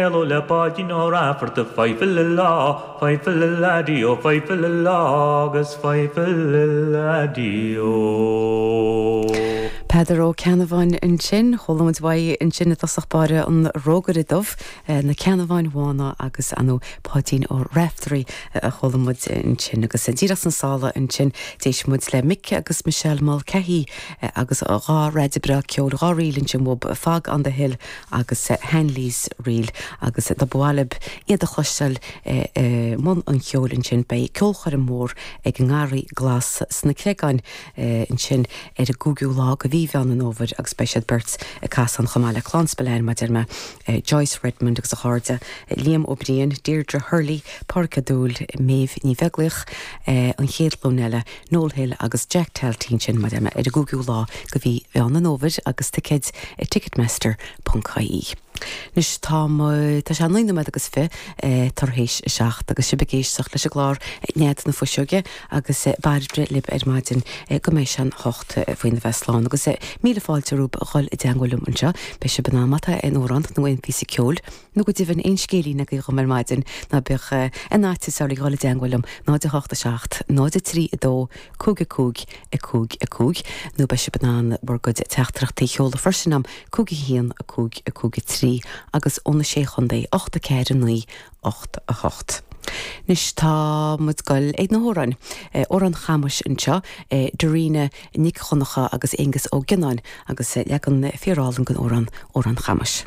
Hello le Páidín Ó Raifeartaigh Fidhe-file-lá, fidhe-file-la-dí-ó, fidhe-file-lá agus fidhe-file-la-dí-ó. Peadar Ó Ceannabháin ansin. Chuala muid uaidh ansin i dtosach báire an Rógaire Dubh, Na Ceannabháin Bhána agus ar ndóigh Páidín Ó Raiftearaí a chuala muid ansin. Agus díreach sna sála ansin d'éist muid le Mick agus Michelle Mulcahy agus dha raide breá ceoil, dhá ríl ansin uathub, Fog on the Hill agus Hanley's Reel agus dá mba mhaith libh iad a chloisteáil i mbun an cheoil ansin beidh ceolchoirm mhór ag an nGarraí Glas sna Creagáin ansin ar an gcúigiú lá de mhí Mheán an Fhómhair agus beidh siad beirt ag casadh ann chomh maith le Clann Spillane mar a deir mé, Joyce Redmond agus a chairde, Liam Ó Briain, Deirdre Hurley, Pádraig Ó Dúill, Méabh Ní Bheaglaoich, An Chéad Ghlúin Eile, Noel Hill agus Jack Talty ansin mar a deir mé ar an gcúigiú lá de mhí Mheán an Fhómhair agus ticéid ag Ticketmaster ponc ie. Anois tá tá sé 9 nóiméad agus 20 tar éis a 7 agus sibh ag éisteacht leis an gclár Nead na Fuiseoige agus Bairbre libh ar maidin go mbeidh sé an 8 faoina bheith slán agus míle fáilte romhaibh a dhul i dteangmháil liom anseo. Beidh sibh in ann má tá aon amhrán nó aon phíosa ceoil nó go deimhin aon scéilín agaibh dhom ar maidin, ná bíodh aon fhaitíos oraibh dhul i dteangmháil liom, 0 8 7 0 3 2 5 5 5 5, nó beidh sibh in ann bhur gcuid teachtaireachtaí a sheoladh freisin am 5 1 5 5 3 agus ó na Sé Chontae 8 4 9 8 8. Anois tá muid goil ag na hamhráin. Amhrán Chamuis anseo, Darina Nic Dhonncha agus Aengus Ó Gionnáin agus leagan fíorálainn den amhrán Amhrán Chamuis.